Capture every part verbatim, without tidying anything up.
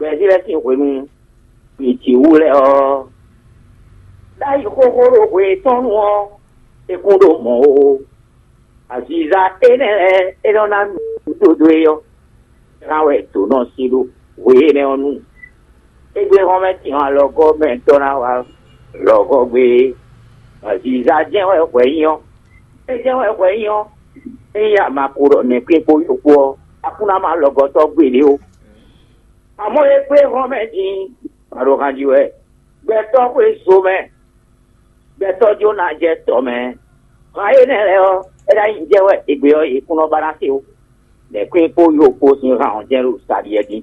Gbɛzí lɛ́ɛ sín hwenu gbǐjǐwú lɛ́ɛ ɔ́, ɖ'ayǐ xóxó ɖo hwe tɔn nu ɔ́, é kún ɖo mɔ̌ ó. Aziza énɛ́ lɛ́ɛ é nɔ ná nǔɖuɖu dó é ɔ́, é ná wɛ dǒ nɔ sí ɖó hwe énɛ́ ɔ́ nu. Égbé hɔn mɛ tɛn alɔgɔ́ mɛ tɔn ná wá lɔgɔ́ gbé é. Aziza jɛ́n wɛ hwɛ nyí ɔ́, é jɛ́n wɛ hwɛ nyí ɔ́, ényí a ma ko ɖɔ nɛ̌kpín kpó yó kpó ɔ́, a kún ná má lɔgɔ́tɔ́ gbeɖé ó. Amɔ̌ e kplé hɔn mɛ din, ma ɖo han jí wɛ. Gbɛtɔ́ xwé zo mɛ, gbɛtɔ́ jó ná jɛ tɔ mɛ. Han énɛ́ lɛ́ɛ ɔ́, é ná nyí jɛ wɛ égbé ɔ́, è kún nɔ ba ná se ó. Nɛ̌ kwín kpó yo kpó sín han ɔ́ jɛ́n ɖo sa ɖiɛ dín.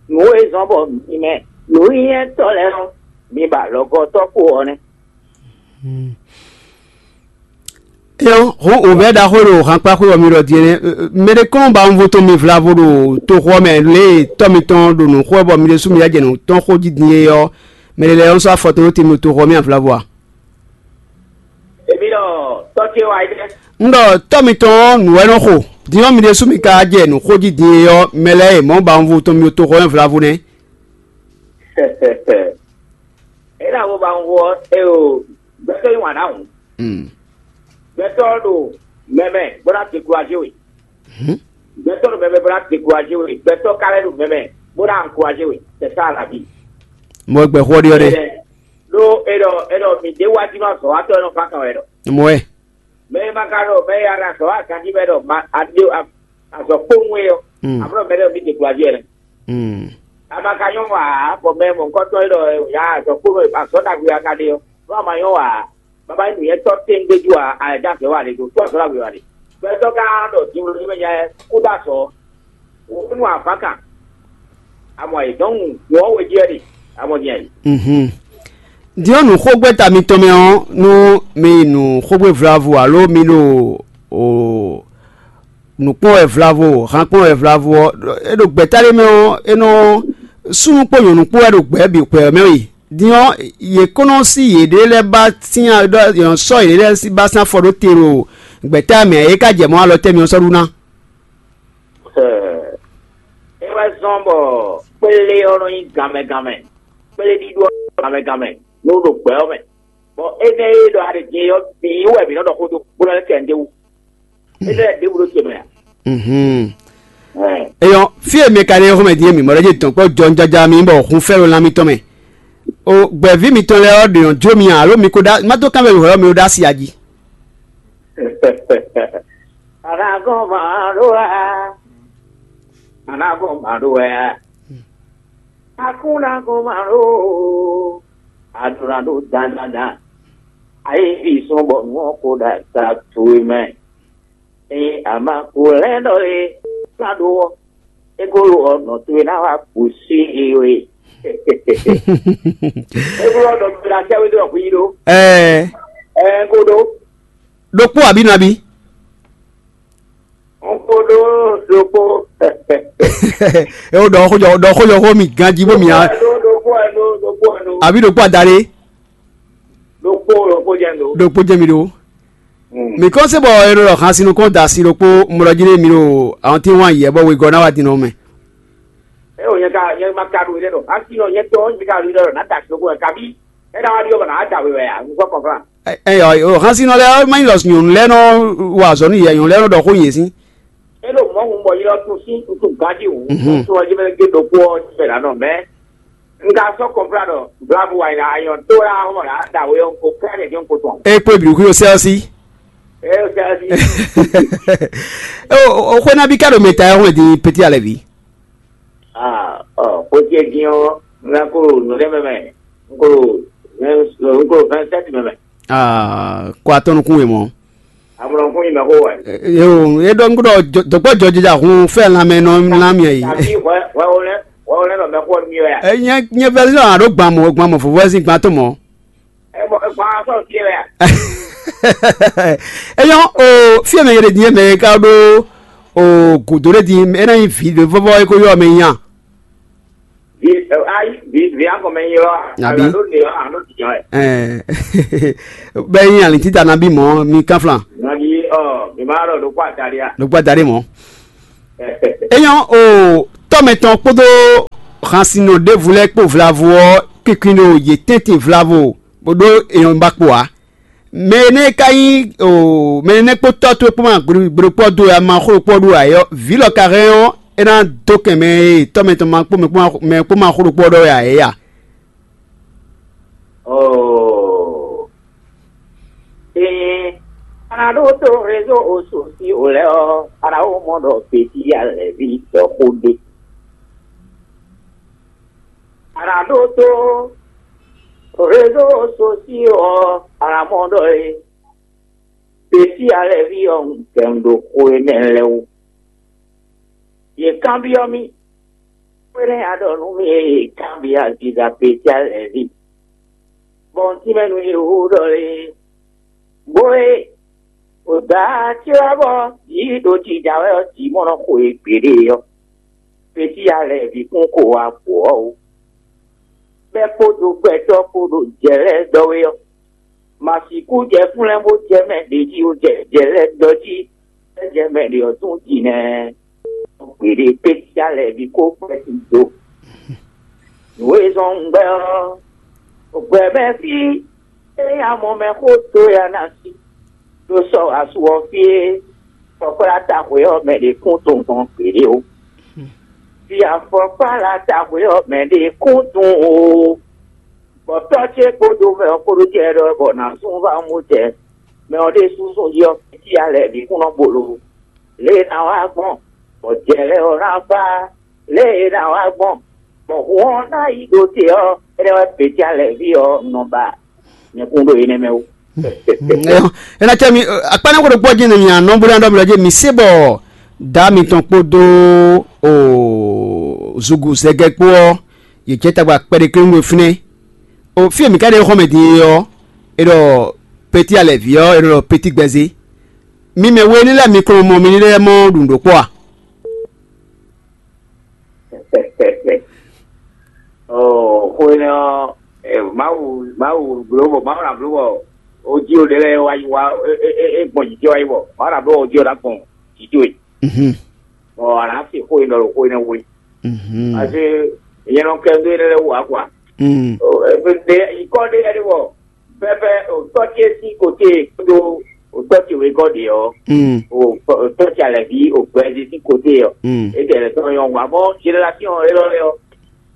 Nǔ e zɔ́n bɔ mi mɛ nǔnywɛ́tɔ́ lɛ́ɛ ɔ́, mi ba lɔgɔ́tɔ́ kpo ɔ́ nɛ́. Éyɔ́, hɔn wǒvɛ́ ɖaxó e ɖo hankpáxwé ɔ́ mi ɖɔ din é nɛ́. Mɛɖé kɔn ba wunvo tɔn mi vlavo ɖo toxo ɔ́ mɛ lě e tɔ́ mitɔn ɖo nǔ xo wɛ bɔ mi ɖésú mi yá jɛ nǔ tɔn xó jí din é ɔ́, mɛɖé lɛ́ɛ ɔ́ sɔ́ afɔ tɔn ɖó te mi ɖo toxo ɔ́ mɛ vlavo a? Èmi ɖɔ tɔ́ ce wá yi dɛ. Un ɖɔ tɔ́ mitɔn ɔ́ nǔ wɛ nɔ xo. Din ɔ́ mi ɖésú mi ka jɛ nǔ xó jí din é ɔ́, mɛ lɛ́ɛ e mɔ̌ ba wunvo tɔn mi ɖo toxo ɔ́ mɛ vlavo nɛ́. É ná mo ba wunvo ɔ́, é o gbɛtɔ́ yí wǎn ɖ'awǔ. Gbɛtɔ́ ɖo mɛmɛ bó ná dékuraje we. Gbɛtɔ́ ɖo mɛmɛ bó ná dékuraje we. Gbɛtɔ́ ka lɛ́ ɖo mɛmɛ bó ná ankuraje we. C'est ça la vie. Mɔ gbɛ xɔ ɖi ɔ́ ɖe. Ɖó é ɖɔ é ɖɔ mi ɖé wá jí nɔ azɔ̌watɔ́ e nɔ fán kan wɛ ɖɔ. Mɔ ɛ. Mɛ e ma ka ɖo mɛ e a ɖo azɔ̌ wa ganjí mɛ ɖɔ ma a ɖe azɔ̌ kpowun é ɔ́, amlɔ mɛ ɖɔ mi dékuraje wɛ nɛ. A ma ka nyɔ́ wa ǎ, bɔ mɛ mɔ̌hunkɔtɔn e ɖɔ ya azɔ̌ kpowun azɔ̌ ɖagbe a ka ɖe ɔ́, nú a ma nyɔ́ wa ǎ, baba nyí nǔnywɛ́tɔ́ tɛ́ngbéjú ǎ, a lɛ̌ dó azɔ̌ wa ɖe do, tó azɔ̌ ɖagbe wa ɖe. Gbɛtɔ́ ka ɖɔ din wló mɛ nya ɛ kú ɖó azɔ̌, wǒ nú avǎ kan. Amɔ ayǐ dɔn wǔ wɔ wejɛ ɖe amɔ din ayǐ. Din ɔ́, nǔ xógbɛ́ta mitɔn mɛ ɔ́, nú mi yi nǔ xógbé vlavo alo mi ɖo o nǔ kpɔ́n wɛ vlavo, han kpɔ́n wɛ vlavo ɔ́, é ɖo gbɛ̌ta ɖé mɛ ɔ́, é nɔ súnnu kpó nyɔ̌nu kpó wɛ ɖo gbɛ̌ bǐ xwɛ ɔ́ mɛ we. Din ɔ́, yě kó nɔ sí yěɖée lɛ́ɛ ba sín ɖɔ yě nɔ sɔ́ yěɖée lɛ́ɛ ba sín afɔ ɖó te ɖo gbɛ̌ta mɛ ǎ, é ka jɛ mɔ̌ alɔ tɛ́ mi ɔ́ sɔ́ ɖu ná. É wɛ zɔ́n bɔ kplé ɔ́ nɔ nyí ganmɛ ganmɛ, kplé ɖíɖó ɔ́ ganmɛ ganmɛ nú ɖo gbɛ ɔ́ mɛ. Bɔ énɛ́ e ɖɔ a ɖe din é ɔ́ bǐ wɛ mǐ nɔ ɖɔ xó dó bó nɔ lɛ́ kɛ nǔɖé wú. Énɛ́ lɛ́ɛ ɖěbǔ ɖó ce mɛ a? Eyɔn, fí e mi ka ɖe xɔmɛ din e mi mɔ ɖɔ jí dɔn kpɔ jɔ jaja mi bɔ hun fɛ ɖo lan mitɔn mɛ. O gbɛ̌ví mitɔn lɛ́ɛ ɔ́ ɖe nɔ jó mi alo mi ko ɖa má dó kánvɛ mi hwɛ̌ ɔ́ mi ɖo ɖ'asi a jí. Anagɔn ma ɖó wɛ a? Anagɔn ma ɖó wɛ a? Akúnagɔn ma ɖó o. Aɖuna ɖó dandandan. Ayé fi sɔn bɔ nǔ ɔ́ ko ɖo asa towe mɛ. Eye ama ko lɛ́ ɖɔ e ká ɖó ɔ́, é ko lo ɔ́ nɔ towe ná wá kú sí i we. É ko lɔ nɔ towe ná sɛ́ wé ɖɔ hwi ɖó. Ɛɛ, Ɛ ko ɖó. Ɖokpó abǐ nabí? N ko ɖó ɖokpó. É wó ɖɔ xójɔ ɖɔ xójɔ xó mi ganjí bó mi á. Ɖó ɖokpó ɛ ɖó ɖokpó ɛ ɖó. Àbí ɖokpó adaɖé? Ɖokpó ɖokpó jɛ ɖó. Ɖokpó jɛ mi ɖó. Mi kɔn se bɔ e ɖo ɖɔ xan sinu kɔn da si ɖokpó mlɔ jí ɖe mi ɖo àwọn tí wọn yɛ bɔ wegɔ ná wá din nɔ mɛ. Ɛ o nyɛ ka nyɛ ma ka ɖo yɛ ɖɔ. Asi nɔ nyɛ tɔ nyɛ ka ɖo yɛ ɖɔ na da si ɖokpó ɛ kabi. Ɛ na wá ɖi ɔbɔ na da wɛ wɛ ya. N kɔ kɔnfla. Ɛyɔ, o hán sínú lɛ́ɛ má nyí lɔ nyɔ̌nu lɛ́ɛ nɔ wa azɔ̌ nú yɛ nyɔ̌nu lɛ́ɛ nɔ ɖɔ xó yě sín. É ɖo mɔ̌ hun bɔ ylɔ́ tún sín nutún gǎn jí hǔn. Tún ɔ́ jí mɛ gé ɖokpó ɔ́ jí mɛ ɖǎ nɔ mɛ. Un ka sɔ́ kɔnfla ɖɔ blabu wa yi la ayɔn tó la hɔn la da wɛ ɔn ko kɛ́ ɖe jɔn ko tɔn. É kpé bǐ kú yó sɛ́ ɔ́ sí. É sɛ́ ɔ́ sí. O xwé ná bí ká ɖo mɛ ta ɛ hɔn di pétí alɛ ví. Ah, ɔ xwé dín ɔ́ un ná kó nǔ ɖé mɛ mɛ. Un kó un kó vingt-sept mɛ mɛ. Aa, kó atɔ́ nukún we mɔ. Amlɔ kún yi mɛ xó wɛ. Yo, e ɖɔ ŋkú ɖɔ dɔkpɔ jɔjɔja hun fɛ lanmɛ nɔ lan miɛ yi. Tàbí wɛ wɛ wo lɛ wɛ wo lɛ nɔ mɛ xó mi wɛ. Ɛ nyɛ nyɛ vɛ lɔ alo gbamɔ gbamɔ fofo ɛsin gban tó mɔ. Ɛ bɔ ɛ gban sɔ ti wɛ. Eyɔ o fiɛ mɛ yɛrɛ diɲɛ mɛ ka ɖo o godo ɖe di e na nyi vi ɖe vɔvɔ e ko yɔ mɛ nya. Ayi vi vi akɔ mɛ nyi lɔ. Abi. Alo de alo di jɔ. Bɛ nyi ali tita na bi mɔ mi kan flan. Nabi ɔ mi ma lɔ ɖo kó atali a. Ɖo kó atali mɔ. Eyɔn o tɔmɛ tɔn kpódó Hansinɔ ɖěvo lɛ́ɛ kpó vlavo ɔ́, kinkin ɖo yě tɛ́ntin vlavo, bó ɖó èyɔn ba kpo ǎ. Mɛ énɛ́ ka nyí o mɛ énɛ́ kpó tɔ́ towe kpó ma gblogblokpɔ́ dó wɛ a ma xó ɖokpɔ́ ɖó ǎ é ɔ́, vǐ lɔ ka hɛn ɔ́, é ná dó kɛn mɛ e tɔ́ mɛ tɔn ma kpó mɛ kpó ma xó ɖokpɔ́ ɖɔ wɛ ǎ é a? Oo. Ee, a nǎ ɖó tó rézó osu sín o lɛ́ɛ ɔ́, a nǎ wó mɔ ɖɔ Beti alɛ̌ví dɔ̌xó ɖé. A nǎ ɖó tó rézó osu sín ɔ́, a nǎ mɔ ɖɔ é. Beti alɛ̌ví ɔ́, un kɛ un ɖo xó énɛ́ lɛ́ɛ wú. Yě kanbyɔ́ mì, xwénɛ́ a ɖɔ nú mì e yě kanbyɔ́ aziza Beti alɛ̌ví, bɔ un tínmɛ nú yě hú ɖɔ lé. Bó e, wǒ dá acé wá bɔ yǐ ɖo jija wɛ ɔ́, jǐ mɔ nɔ xo e gbeɖé ɔ́, Beti alɛ̌ví kún ko wá bǔ ɔ́ ó. Bɛ́ kpódó gbɛtɔ́ kpó ɖo jɛ lɛ́ɛ ɖɔ wé ɔ́, ma sixú jɛ fúnlɛ́n bó jɛ mɛ ɖě jí ó jɛ jɛ lɛ́ɛ ɖɔ jí, é jɛ mɛ ɖě ɔ́ tún ji nɛ́. Gbeɖé pécá lɛ́ɛ bǐ kó gbɛ́ sin do. Nǔ e zɔ́n un gbɛ́ ɔ́, gbɛ̌ mɛ fí é nyí amɔ mɛ xó dó ya ná sí, ɖó sɔ́ asu ɔ́ fí é, fɔkplá taxwe ɔ́ mɛ ɖě kún tɔn gbɔn gbeɖé ó. Fi afɔkpá la taxwe ɔ́ mɛ ɖě kún dun o. Bɔ tɔ́ ce kpódó mɛ ɔ́ kpódó jɛ ɖɔ bɔ nǎ zún vá mú jɛ. Mɛ ɔ́ ɖésú zún yi ɔ́, fífí alɛ bǐ kún nɔ bolo. Lě e ná wá gbɔn, bɔ jɛ lɛ́ɛ ɔ́ ná fá. Lě e ná wá gbɔn, bɔ hun ɔ́ ná yi ɖo te ɔ́, énɛ́ wɛ Beti alɛví ɔ́ nɔ ba nyɛkún ɖo énɛ́ mɛ ó. Ɛ ná cɛ mi akpá ní xó ɖokpó jí nɔ mi anɔ bó ná ɖɔ mi lɔ jí mi sé bɔ dǎ mitɔn kpódó o zugu zɛgɛ kpó ɔ́, yě jɛ tagba kpɛɖé kléwún ɖo fínɛ́. O fí e mǐ ka ɖe xɔmɛ din é ɔ́, é ɖɔ Peti alɛví ɔ́, é ɖɔ Peti gbɛzé. Mi mɛ we ní lɛ́ɛ mi kɔn mɔ mi ní lɛ́ɛ mɔ ɖu nǔ ɖokpó a? Ɔɔ, xó énɛ́ ɔ́, ɛ, Mawu, Mawu bló bɔ, Mawu ná bló bɔ, ó jí ó ɖe lɛ́ɛ wá yi wá, é, é, é, é gbɔn jǐ ce wá yi bɔ, Mawu ná bló bɔ ó jí ó ná gbɔn jǐ towe. Mhm. Bɔ a nǎ se xó e ɖɔ ɖo xó énɛ́ wú é. Mhm. Parce que nyɛ nɔ kɛ dó énɛ́ lɛ́ɛ wú ǎ, quoi. Mm. Ɔ, ɛ, ɖe, nyǐkɔ ɖé lɛ́ɛ ɖé bɔ, pɛpɛ, o tɔ́ ce sín kote kpódó o tɔ́ ce wegɔ́ ɖě ɔ́, Mm. o o tɔ́ ce alɛ̌ví o gbɛzí sín kote ɔ́, Mm. é tɛ lɛ tɔn nyɔ́ hua mɔ génération élɔ́ lɛ́ɛ ɔ́,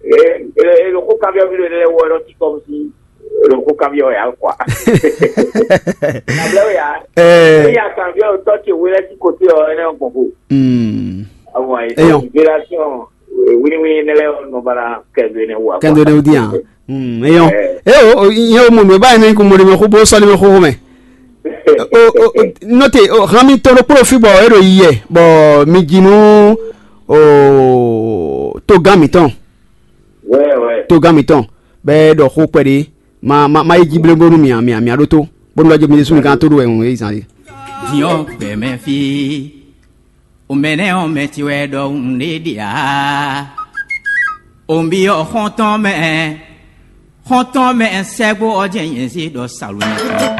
é é é ɖo xó kanbyɔ́ mì ɖo énɛ́ lɛ́ɛ wú ɔ́, é nɔ cí kɔ́ sí é ɖo xó kanbyɔ́ wɛ ǎ, quoi. Ablɛ́ wɛ ǎ. Ɛ. Ényí a kanbyɔ́ o tɔ́ ce wé lɛ́ɛ sín kote ɔ́, énɛ́ ɔ́ gbɔn xo. Mm. Àwọn Eyɔn. Génération wíníwíní énɛ́ lɛ́ɛ ɔ́ nɔ ba ná kɛ dó énɛ́ wú ǎ, quoi. Kɛ dó énɛ́ wú dín ǎ. Mm, eyɔn. Ɛ. E o, o, nyɛ o mɔ nǔ e ba nyɛ ní kún mɔ ɖe mɛ xó bó sɔ́ ɖe mɛ xóxó mɛ. O, o, o, nɔte, o, hàn mi tɔn ɖokpó ɖo fí bɔ é ɖo yiyɛ, bɔ mi ji nú, o, togán mǐtɔn. Wɛ, wɛ. Togán mǐtɔn, bɔ é ɖɔ xó kpɛɖé, ma, ma, ma yi jí blémbónú mì, mì, mì ɖótó, bónú lɔ jɛ mi ɖésú mi gán tó ɖo wɛ hǔn e zan é. Din ɔ́ gbɛ mɛ fí. O mɛ nɛ́ ɔ́ mɛ ce wɛ ɖɔhun ɖé ɖe ǎ. O nví ɔ́ xɔ́ntɔn mɛ, xɔ́ntɔn mɛ sɛ́gbó ɔ́ jɛ́n nyɛ zé ɖɔ Salomɛ.